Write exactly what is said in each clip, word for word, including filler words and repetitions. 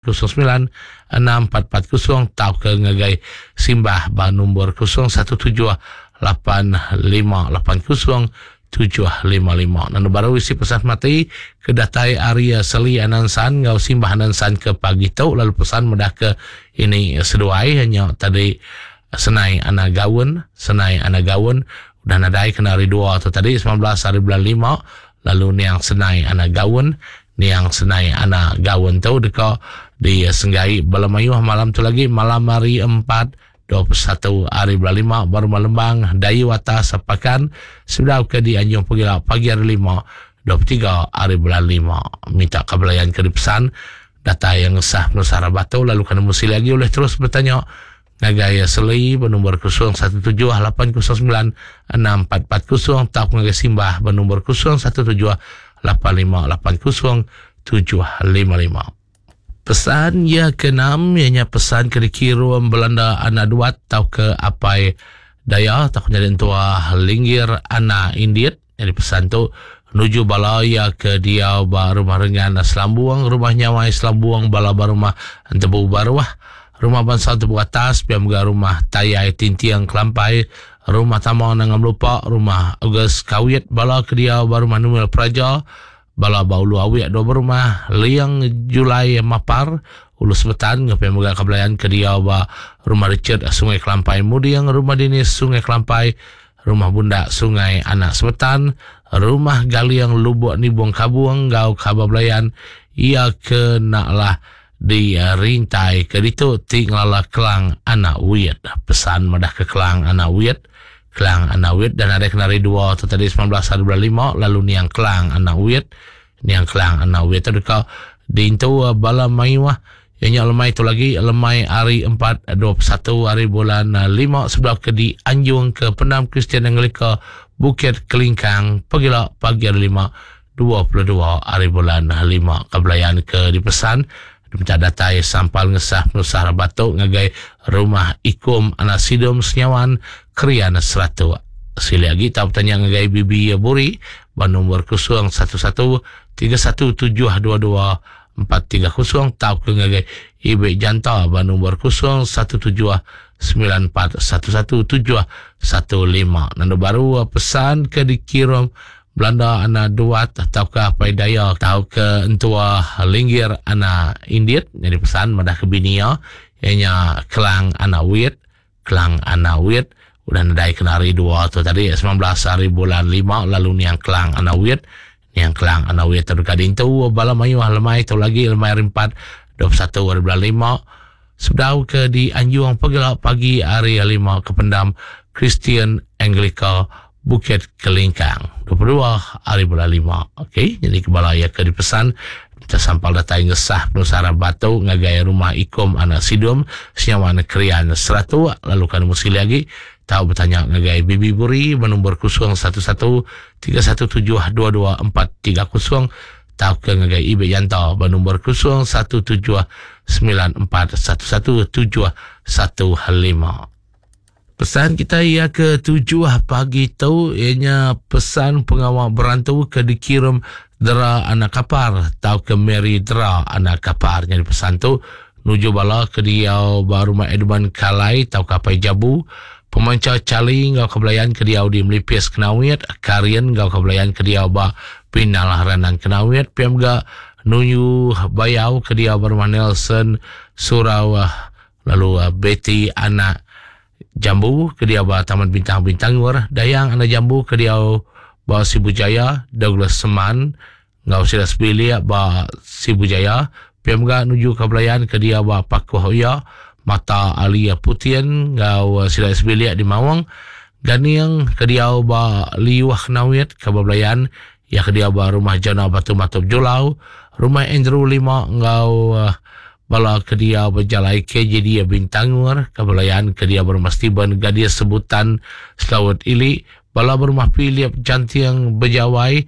kosong semilan enam empat empat kosong tauka ngagai Simbah ba nombor kosong satu tujuh lapan lima lapan kosong tujuh lima lima. Nanda baru isi pesan mati ke datai ari Seli Anansan enggau Simbah Anansan ke pagi tu, lalu pesan medah ke ini seduai nya tadi Senai Anak Gaun, Senai Anak Gaun udah nadai kena hari dua tu tadi sembilan belas hari bulan lima, lalu niang Senai Anak Gaun, niang Senai Anak Gaun tu deka disenggai bala mayuh malam tu lagi malam hari empat dua puluh satu hari bulan lima baru Lembang Dayu atas Pakan sebedau ke di Anjung Pegila pagi hari lima dua puluh tiga hari bulan lima. Minta kebelayan ke dipesan datai yang sah Nusara Batu, lalu kena mesti lagi oleh terus bertanya ngagai Seli bernombor kosong satu tujuh lapan kosong sembilan enam empat empat kosong atau ngagai Simbah bernombor kosong satu tujuh lapan lima lapan kosong tujuh lima lima. Pesan ya keenam ianya pesan ke dikirim Belanda anak duat atau ke apai daya atau ke nyadi entua Linggir anak Indit. Jadi pesan tu menuju bala ya ke dia ba rumah Rengan Selambung, rumah Nyawai Selambung, bala ba rumah Entebu Baruah, rumah Bangsa Entebu Atas, pia mega rumah Tayai Tintiang Kelampai, rumah Tamang Nangam Lupa, rumah August Kawit, bala ke dia ba rumah Numil Praja, bala ba Ulu Awik dua berumah, Liang Julai Mapar, Ulu Sebetan, ngepia mega kebelayan ke dia ba rumah Richard Sungai Kelampai Muding, rumah Dinis Sungai Kelampai, rumah Bundak Sungai Anak Sebetan, rumah Galiang Lubuk Nibung Kabung, gau khabar belayan ia ke naklah di rintai ke ditu ti ngelala Kelang Anak Wit. Pesan madah ke Kelang Anak Wit, Kelang Anak Wit dan ada kenari dua tu tadi sembilan belas hari bulan lima, lalu niang Kelang Anak Wit, niang Kelang Anak Wit tu dekat diintu bala mayuah yang lemai tu lagi lemai hari empat dua puluh satu hari bulan lima sebelah ke di Anjung ke Pendam Kristian Anglika Bukit Kelingkang pagila pagi hari lima dua puluh dua hari bulan lima. Kebelayan ke dipesan diminta datai sampal ngesah penusah batuk ngagai rumah Ikum Anak Sidom Senyawan Krian Seratuk. Sili lagi tak bertanya ngagai Bibi Buri ba nombor kosong satu satu tiga satu tujuh dua dua empat tiga kosong tau ke ngagai Ibe Janta ba nombor kosong satu tujuh sembilan empat satu satu tujuh satu lima. Nanda baru pesan ke dikirim Belanda anak duat atau ke apai daya atau ke entua Linggir anak Indit. Jadi pesan madah ke binia ianya Kelang anak Wit, Kelang anak Wit udah nadai kena hari dua tu tadi sembilan belas hari bulan lima, lalu niang Kelang anak Wit, niang Kelang anak Wit terdekat dintu bala mayuh lemai tu lagi lemai hari empat dua puluh satu hari bulan lima sebedau ke di Anjung pegela pagi hari lima ke Pendam Kristian Anglika Bukit Kelingkang dua puluh dua hari bulan lima. Okey, jadi kebala ya ke dipesan kita sampal datai ngesah penusara batu ngagai rumah Ikom anak Sidom Senyawan Krian Seratuk, lalu kan mesti lagi tahu bertanya ngagai Bibi Buri bernombor kosong satu satu tiga satu tujuh dua dua empat tiga kosong tahu ke ngagai Ibe Yanta bernombor kosong satu tujuh sembilan empat satu satu tujuh satu lima. Pesan kita ia ke tujuh pagi tu ianya pesan pengawal berantu ke dikirim Dera Anak Kapar atau ke Mary Dera Anak Kapar. Jadi pesan tu nuju bala ke dia baru rumah Edmund Kalai atau Kapai Jabu, pemanca Cali ngau kebelayan ke dia di Melipis Kenawit, Karian ngau kebelayan ke dia ba Pinalah Ranan Kenawit, P M G nuju Bayau ke dia baru rumah Nelson Surau, lalu Betty Anak Jambu ke dia ba Taman Bintang Bintangur, Dayang Anak Jambu ke dia ba Sibu Jaya, Douglas Seman ngau sila sebilik ba Sibu Jaya, P M G nuju ke belayan ke dia ba Pakuh Oya, Mata Alia Putian ngau sila sebilik di Mawang, Ganiang ke dia ba Liwah Kenawit ke ba belayan ya ke dia ba Rumah Jana Batu Matup Julau, Rumah Andrew Lima ngau bala ke dia berjalai K J D Bintangur, ke belayan ke dia berumah Steven Gadis Sebutan Selawat Ili, bala berumah Philip Jantiang Bejawai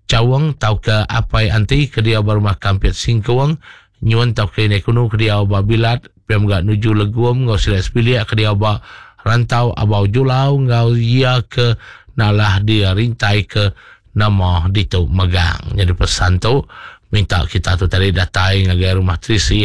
Cawang tau ke Apai Anti ke dia berumah Kampit Singkuang, Nyuan tau ke Nekunu ke dia ba Bilat, P M G nuju Leguam ngau sila sebilik ke dia ba Rantau Abau Julau ngau ia ke nalah dia rintai ke nama ditu megang. Jadi pesan tu Minta kita tu tadi datai ngagai rumah Trisi.